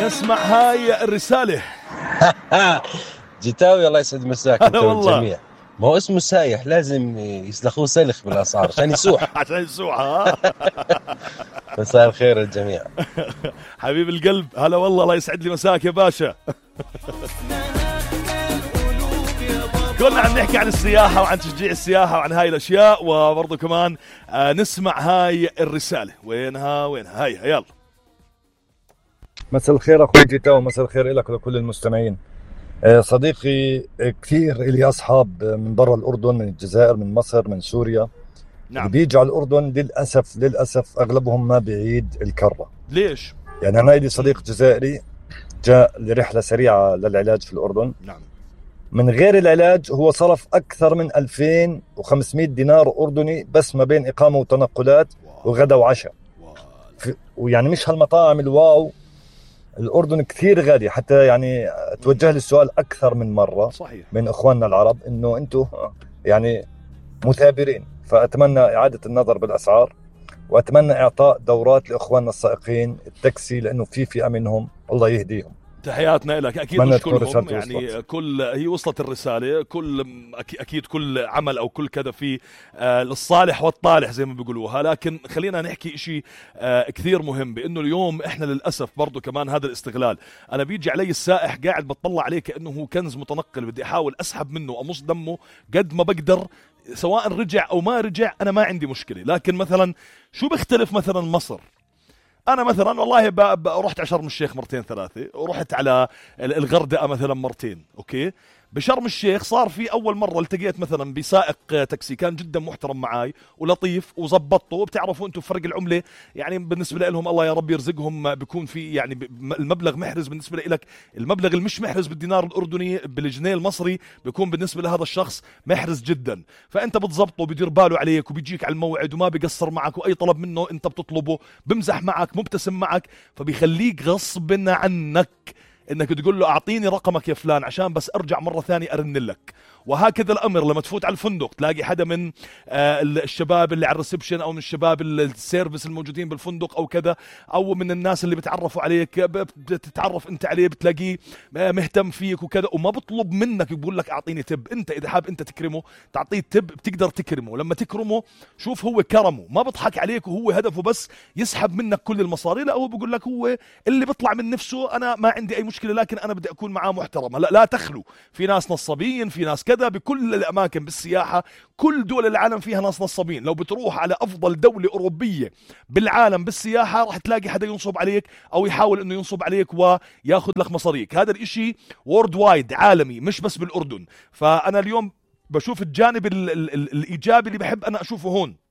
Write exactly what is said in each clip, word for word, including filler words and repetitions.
نسمع هاي الرسالة. جيتاوي الله يسعد مساك انت والجميع. ما هو اسمه سايح لازم يسلخوه سلخ بالاسعار عشان يسوح. عشان يسوح. ها مساء الخير الجميع. حبيب القلب هلا والله الله يسعد لي مساك يا باشا. كنا عم نحكي عن السياحة وعن تشجيع السياحة وعن هاي الأشياء، وبرضو كمان آه نسمع هاي الرسالة. وينها وينها هاي يلا. مساء الخير أخوي جيتاو، مساء الخير لك ولكل المستمعين. آه صديقي كثير إلي أصحاب من برا الأردن، من الجزائر، من مصر، من سوريا. نعم. اللي بيجوا على الأردن للأسف للأسف أغلبهم ما بيعيد الكرة. ليش؟ يعني أنا لي صديق جزائري جاء لرحلة سريعة للعلاج في الأردن. نعم. من غير العلاج هو صرف أكثر من ألفين وخمسمائة دينار أردني بس ما بين إقامة وتنقلات وغدا وعشاء. ويعني مش هالمطاعم الواو. الأردن كثير غالي، حتى يعني توجه لي السؤال أكثر من مرة صحيح. من إخواننا العرب إنه أنتم يعني مثابرين، فأتمنى إعادة النظر بالأسعار، وأتمنى إعطاء دورات لإخواننا السائقين التاكسي، لأنه في فئة منهم الله يهديهم. تحياتنا لك. أكيد مش كلهم يعني وصلت. كل هي وصلت الرسالة، كل أكيد كل عمل أو كل كذا في آه للصالح والطالح زي ما بيقولوها، لكن خلينا نحكي إشي آه كثير مهم، بأنه اليوم إحنا للأسف برضو كمان هذا الاستغلال. أنا بيجي علي السائح قاعد بتطلع عليه كأنه هو كنز متنقل، بدي أحاول أسحب منه أمص دمه قد ما بقدر، سواء رجع أو ما رجع أنا ما عندي مشكلة. لكن مثلا شو بيختلف مثلا مصر؟ أنا مثلا والله ب... ب... رحت على شرم الشيخ مرتين ثلاثة، ورحت على الغردقة مثلا مرتين. أوكي، بشرم الشيخ صار في أول مرة التقيت مثلا بسائق تاكسي كان جدا محترم معاي ولطيف وزبطته. وبتعرفوا أنتم فرق العملة يعني بالنسبة لهم الله يا رب يرزقهم، بيكون في يعني المبلغ محرز بالنسبة لك، المبلغ المش محرز بالدينار الأردني بالجنيه المصري بيكون بالنسبة لهذا الشخص محرز جدا. فأنت بتزبطه وبيدير باله عليك وبيجيك على الموعد وما بيقصر معك، وأي طلب منه أنت بتطلبه بمزح معك مبتسم معك، فبيخليك غصب عنك انك تقول له اعطيني رقمك يا فلان عشان بس ارجع مرة ثانية ارن لك. وهكذا الامر لما تفوت على الفندق تلاقي حدا من آه الشباب اللي على الريسبشن او من الشباب السيرفيس الموجودين بالفندق او كذا، او من الناس اللي بتعرفوا عليك بتتعرف انت عليه بتلاقيه مهتم فيك وكذا، وما بطلب منك بيقول لك اعطيني تب. انت اذا حاب انت تكرمه تعطيه تب بتقدر تكرمه. لما تكرمه شوف هو كرمه ما بضحك عليك وهو هدفه بس يسحب منك كل المصاري، لا هو بيقول لك هو اللي بيطلع من نفسه انا ما عندي اي مشكلة لكن انا بدي اكون معاه محترم. لا لا تخلو، في ناس نصابين، في ناس كذا بكل الاماكن بالسياحة، كل دول العالم فيها ناس نصابين. لو بتروح على افضل دولة اوروبية بالعالم بالسياحة راح تلاقي حدا ينصب عليك او يحاول انه ينصب عليك وياخذ لك مصاريك. هذا الاشي وورد وايد عالمي مش بس بالاردن. فانا اليوم بشوف الجانب ال ال ال الايجابي اللي بحب انا اشوفه هون.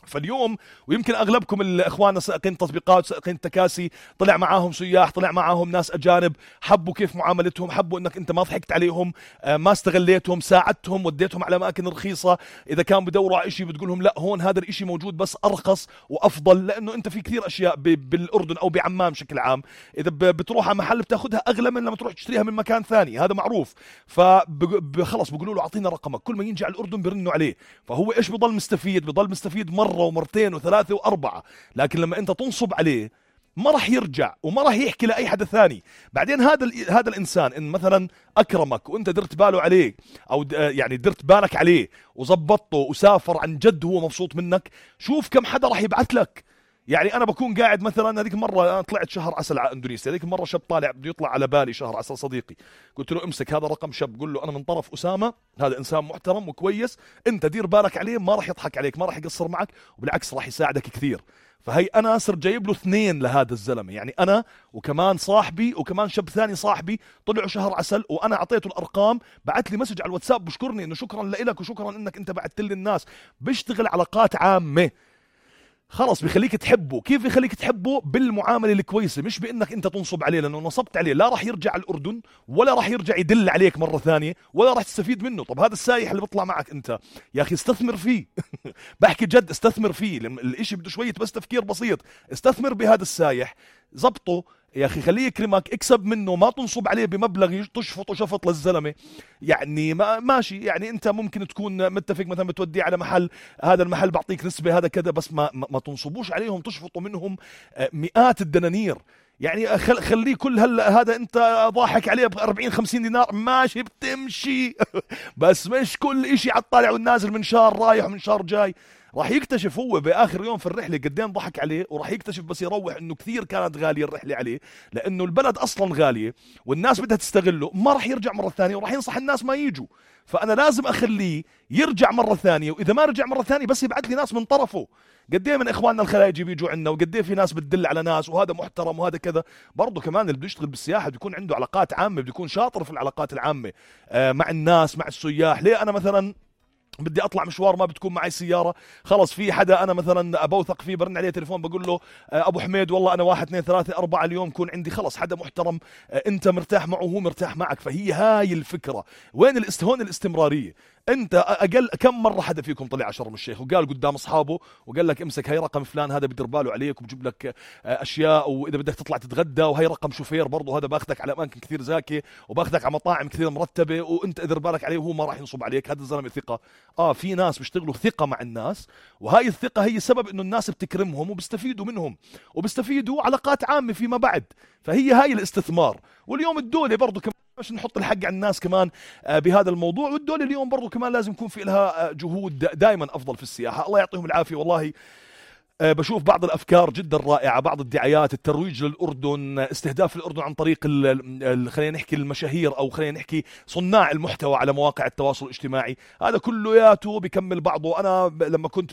فاليوم ويمكن اغلبكم الاخوان سائقين تطبيقات سائقين تكاسي طلع معاهم سياح، طلع معاهم ناس اجانب، حبوا كيف معاملتهم، حبوا انك انت ما ضحكت عليهم، ما استغليتهم، ساعدتهم، وديتهم على اماكن رخيصه. اذا كان بدوروا على شيء بتقولهم لا هون هذا الاشي موجود بس ارخص وافضل، لانه انت في كثير اشياء بالاردن او بعمان بشكل عام اذا بتروح على محل بتاخذها اغلى من لما تروح تشتريها من مكان ثاني، هذا معروف. فخلص بيقولوا له اعطينا رقمك، كل ما ينجي على الاردن بيرنوا عليه، فهو ايش بضل مستفيد؟ بضل مستفيد مره ومرتين وثلاثة وأربعة. لكن لما أنت تنصب عليه ما راح يرجع وما راح يحكي لأي حدا ثاني. بعدين هذا هذا الإنسان إن مثلا أكرمك وأنت درت باله عليه أو يعني درت بالك عليه وزبطته وسافر عن جد هو مبسوط منك، شوف كم حدا راح يبعث لك. يعني أنا بكون قاعد مثلا هذيك مرة أنا طلعت شهر عسل على إندونيسيا، هذيك مرة شاب طالع بده يطلع على بالي شهر عسل صديقي، قلت له امسك هذا رقم شاب، قل له أنا من طرف أسامة، هذا إنسان محترم وكويس، أنت دير بالك عليه، ما راح يضحك عليك، ما راح يقصر معك، وبالعكس راح يساعدك كثير. فهي أنا صرت جايب له اثنين لهذا الزلمة، يعني أنا وكمان صاحبي وكمان شاب ثاني صاحبي طلعوا شهر عسل، وأنا أعطيته الأرقام، بعت لي مسج على الواتساب بشكرني إنه شكرا لك وشكرا إنك أنت بعت لي الناس. بيشتغل علاقات عامة، خلص بيخليك تحبه. كيف بيخليك تحبه؟ بالمعاملة الكويسة، مش بإنك أنت تنصب عليه، لأنه نصبت عليه لا راح يرجع على الأردن ولا راح يرجع يدل عليك مرة ثانية ولا راح تستفيد منه. طب هذا السايح اللي بيطلع معك أنت يا أخي استثمر فيه بحكي جد استثمر فيه، الاشي بده شوية بس تفكير بسيط. استثمر بهذا السايح، زبطه يا أخي، خليه يكرمك، اكسب منه، ما تنصب عليه بمبلغ تشفط وشفط للزلمة. يعني ما ماشي، يعني أنت ممكن تكون متفق مثلا بتوديه على محل، هذا المحل بعطيك نسبة هذا كذا، بس ما, ما تنصبوش عليهم تشفطوا منهم مئات الدنانير. يعني خليه كل هلا هذا انت ضاحك عليه ب أربعين خمسين دينار ماشي بتمشي بس مش كل اشي على الطالع والنازل، من شهر رايح ومن شهر جاي. راح يكتشف هو باخر يوم في الرحله قدين ضحك عليه، وراح يكتشف بس يروح انه كثير كانت غاليه الرحله عليه، لانه البلد اصلا غاليه والناس بدها تستغله، ما راح يرجع مره ثانيه وراح ينصح الناس ما يجوا. فانا لازم اخليه يرجع مره ثانيه، واذا ما رجع مره ثانيه بس يبعث لي ناس من طرفه. قد ايه من اخواننا الخلايجي بيجوا عندنا، وقد ايه في ناس بتدل على ناس وهذا محترم وهذا كذا. برضه كمان اللي بده يشتغل بالسياحه بيكون عنده علاقات عامه، بده يكون شاطر في العلاقات العامه آه مع الناس مع السياح. ليه انا مثلا بدي اطلع مشوار ما بتكون معي سياره، خلص في حدا انا مثلا بوثق فيه برن عليه تليفون بقول له ابو حميد والله انا واحد اثنين ثلاثه اربعه اليوم كون عندي، خلص حدا محترم انت مرتاح معه وهو مرتاح معك. فهي هاي الفكره. وين الاست هون الاستمراريه. انت اقل كم مره حدا فيكم طلع على شرم الشيخ وقال قدام اصحابه وقال لك امسك هي رقم فلان هذا بدير باله عليك وبجيب لك اشياء، واذا بدك تطلع تتغدى وهي رقم شوفير برضه هذا باخذك على اماكن كثير زاكيه وباخذك على مطاعم كثير مرتبه وانت ادير بالك عليه وهو ما راح ينصب عليك. هذا الزلمه ثقه. اه في ناس بيشتغلوا ثقه مع الناس، وهاي الثقه هي سبب انه الناس بتكرمهم وبيستفيدوا منهم وبيستفيدوا علاقات عامه فيما بعد. فهي هاي الاستثمار. واليوم الدوله برضه كمان مش نحط الحق على الناس كمان بهذا الموضوع، والدولة اليوم برضو كمان لازم يكون في لها جهود دائما أفضل في السياحة. الله يعطيهم العافية. والله بشوف بعض الأفكار جدا رائعة، بعض الدعايات، الترويج للأردن، استهداف الأردن عن طريق خلينا نحكي المشاهير أو خلينا نحكي صناع المحتوى على مواقع التواصل الاجتماعي. هذا كله ياتو بكمل بعضه. أنا لما كنت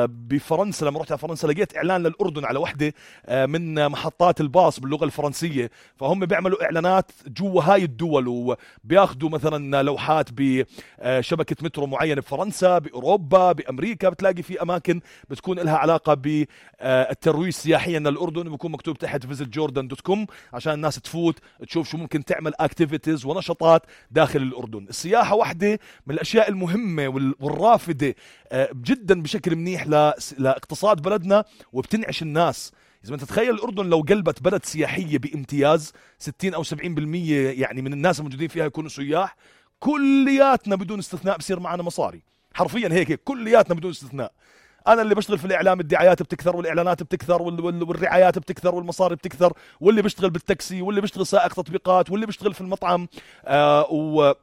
بفرنسا، لما رحت على فرنسا لقيت إعلان للأردن على وحدة من محطات الباص باللغة الفرنسية، فهم بيعملوا إعلانات جوا هاي الدول وبياخدوا مثلا لوحات بشبكة مترو معينة بفرنسا، بأوروبا، بأمريكا. بتلاقي في أماكن بتكون لها علاقة بالترويج سياحيا للأردن، بيكون مكتوب تحت فيزيت جوردن دوت كوم عشان الناس تفوت تشوف شو ممكن تعمل اكتيفيتيز ونشاطات داخل الأردن. السياحة واحدة من الأشياء المهمة والرافدة جدا بشكل منيح لاقتصاد بلدنا وبتنعش الناس. إذا أنت تتخيل الأردن لو قلبت بلد سياحية بامتياز ستين أو سبعين بالمية يعني من الناس الموجودين فيها يكونوا سياح، كلياتنا بدون استثناء بصير معنا مصاري. حرفيا هيك كلياتنا بدون استثناء. أنا اللي بشتغل في الإعلام الدعايات بتكثر والإعلانات بتكثر والرعايات بتكثر والمصاري بتكثر، واللي بيشتغل بالتاكسي واللي بيشتغل سائق تطبيقات واللي بيشتغل في المطعم آه و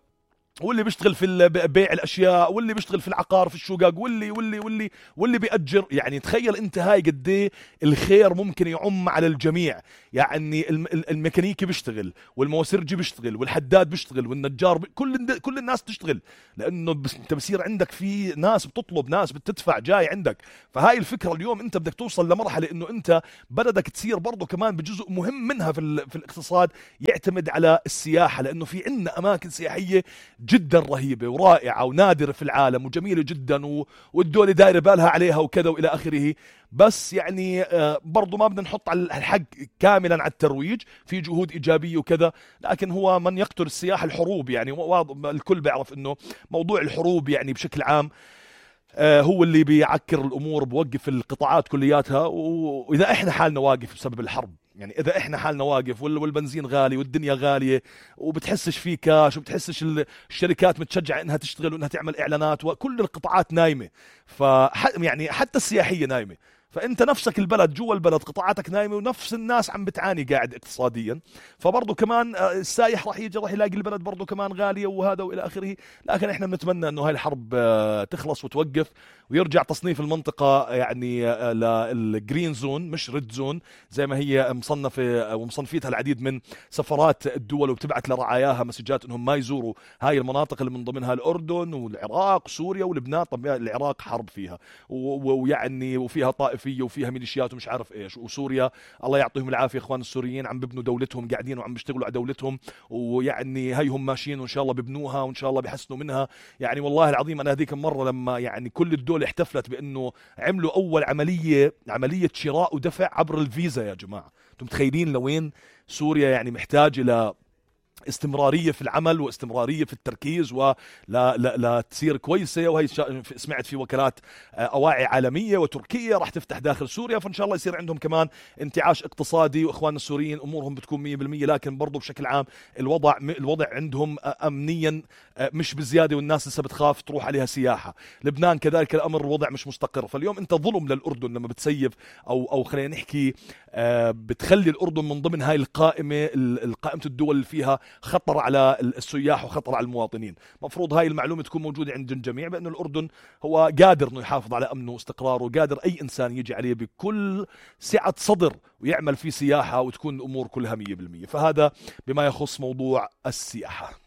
واللي بيشتغل في بيع الاشياء واللي بيشتغل في العقار في الشقق واللي واللي واللي واللي بيأجر. يعني تخيل انت هاي قد ايه الخير ممكن يعم على الجميع. يعني الميكانيكي بيشتغل والموسرجي بيشتغل والحداد بيشتغل والنجار بي... كل كل الناس تشتغل، لانه بس انت بصير عندك في ناس بتطلب، ناس بتدفع جاي عندك. فهاي الفكره اليوم انت بدك توصل لمرحله انه انت بلدك تصير برضه كمان بجزء مهم منها في في الاقتصاد يعتمد على السياحه، لانه في عندنا اماكن سياحيه جدا رهيبة ورائعة ونادرة في العالم وجميلة جدا و... والدولة دايرة بالها عليها وكذا وإلى آخره. بس يعني آه برضو ما بدنا نحط على الحق كاملا على الترويج، في جهود إيجابية وكذا، لكن هو من يقتل السياحة الحروب. يعني الكل بيعرف إنه موضوع الحروب يعني بشكل عام آه هو اللي بيعكر الأمور، بوقف القطاعات كلياتها. وإذا إحنا حالنا واقف بسبب الحرب، يعني إذا إحنا حالنا واقف والبنزين غالي والدنيا غالية وبتحسش فيه كاش وبتحسش الشركات متشجعة إنها تشتغل وإنها تعمل إعلانات وكل القطاعات نايمة، فح يعني حتى السياحية نايمة. فأنت نفسك البلد جوا البلد قطاعاتك نايمة ونفس الناس عم بتعاني قاعد اقتصاديا. فبرضو كمان السايح راح يجي راح يلاقي البلد برضو كمان غالية وهذا وإلى آخره. لكن إحنا بنتمنى إنه هاي الحرب تخلص وتوقف ويرجع تصنيف المنطقة يعني للجرين زون مش ريد زون زي ما هي مصنفة ومصنفيتها العديد من سفرات الدول وبتبعت لرعاياها مسجات إنهم ما يزوروا هاي المناطق اللي من ضمنها الأردن والعراق وسوريا ولبنان. طب العراق حرب فيها ويعني وفيها طائف وفيها ميليشيات ومش عارف ايش، وسوريا الله يعطيهم العافيه اخوان السوريين عم ببنوا دولتهم، قاعدين وعم بيشتغلوا على دولتهم، ويعني هيهم ماشيين وان شاء الله ببنوها وان شاء الله بيحسنوا منها. يعني والله العظيم انا هذيك المره لما يعني كل الدول احتفلت بانه عملوا اول عمليه عمليه شراء ودفع عبر الفيزا. يا جماعه انتم متخيلين لوين سوريا يعني محتاجه ل استمرارية في العمل واستمرارية في التركيز ولا لا لا تصير كويسة. وهي سمعت في وكالات أواعي عالمية وتركيا راح تفتح داخل سوريا، فإن شاء الله يصير عندهم كمان انتعاش اقتصادي، وإخواننا السوريين أمورهم بتكون مية بالمية. لكن برضو بشكل عام الوضع الوضع عندهم أمنيا مش بزيادة، والناس لسه بتخاف تروح عليها سياحة. لبنان كذلك الأمر الوضع مش مستقر. فاليوم أنت ظلم للأردن لما بتسيب أو أو خلينا نحكي بتخلي الأردن من ضمن هاي القائمة القائمة الدول اللي فيها خطر على السياح وخطر على المواطنين. مفروض هاي المعلومة تكون موجودة عند الجميع بأن الأردن هو قادر أنه يحافظ على أمنه واستقراره، وقادر أي إنسان يجي عليه بكل سعة صدر ويعمل فيه سياحة وتكون الأمور كلها مية بالمية. فهذا بما يخص موضوع السياحة.